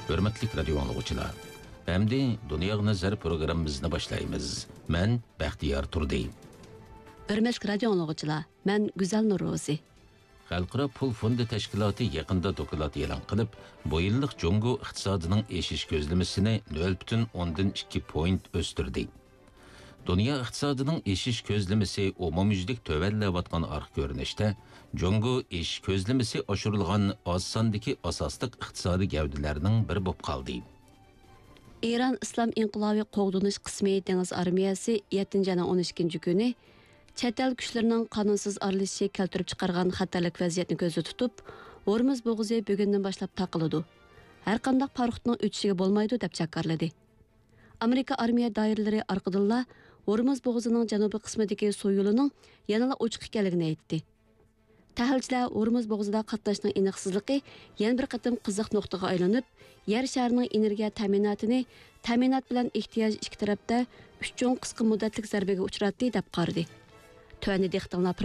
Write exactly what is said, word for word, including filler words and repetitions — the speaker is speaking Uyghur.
ھۆرمەتلىك رادىيو ئاڭلىغۇچىلار، ئەمدى دۇنياغا نەزەر پروگراممىمىزنى باشلايمىز. مەن بەختىيار تۇردى. ھۆرمەتلىك رادىيو ئاڭلىغۇچىلار، مەن گۈزەل نۇرروزى. خەلقئارا پۇل فوندى تەشكىلاتى يېقىندا دوكلات ئېلان قىلىپ، بۇ يىللىق جۇڭگو ئىقتىسادىنىڭ ئېشىش كۆزلىمىسىنى نۆل پۈتۈن ئوندىن ئىككى پوينت ئۆستۈردى. دۇنيا ئىقتىسادىنىڭ ئېشىش كۆزلىمىسى ئومۇميۈزلۈك تۆۋەنلەۋاتقان ئارقا كۆرۈنۈشتە، جۇڭگو ئېشىش كۆزلىمىسى ئاشۇرۇلغان ئاز ساندىكى ئاساسلىق ئىقتىسادىي گەۋدىلەرنىڭ بىرى بولۇپ قالدى. ئىران ئىسلام ئىنقىلابى قوغدىنىش قىسمى دېڭىز ئارمىيەسى يەتتىنچى ئاينىڭ ئون ئىككىنچى كۈنى چەت ئەل كۈچلىرىنىڭ قانۇنسىز ئارىلىشىشى كەلتۈرۈپ چىقارغان خەتەرلىك ۋەزىيەتنى كۆزدە تۇتۇپ، ھورمۇز بوغۇزى بۈگۈندىن باشلاپ تاقىلىدۇ، ھەرقانداق پاراخوتنىڭ ئۆتۈشىگە بولمايدۇ، دەپ جاكارلىدى. ئامېرىكا ئارمىيە دائىرىلىرى ئارقىدىنلا ھورمۇز بوغۇزىنىڭ جەنۇبىي قىسمىدىكى سۇ يولىنىڭ يەنىلا ئوچۇق ئىكەنلىكىنى ئېيتتى. تەھلىلچىلەر ھورمۇز بوغۇزىدا قاتناشنىڭ ئېنىقسىزلىقى يەنە بىر قېتىم قىزىق نۇقتىغا ئايلىنىپ، يەر شارىنىڭ ئېنېرگىيە تەمىناتىنى، تەمىنات بىلەن ئېھتىياج ئىككى تەرەپتە ئۈچ چوڭ قىسقا مۇددەتلىك زەربىگە ئۇچراتتى، دەپ قارىدى. تۆۋەندە دىققىتىڭلار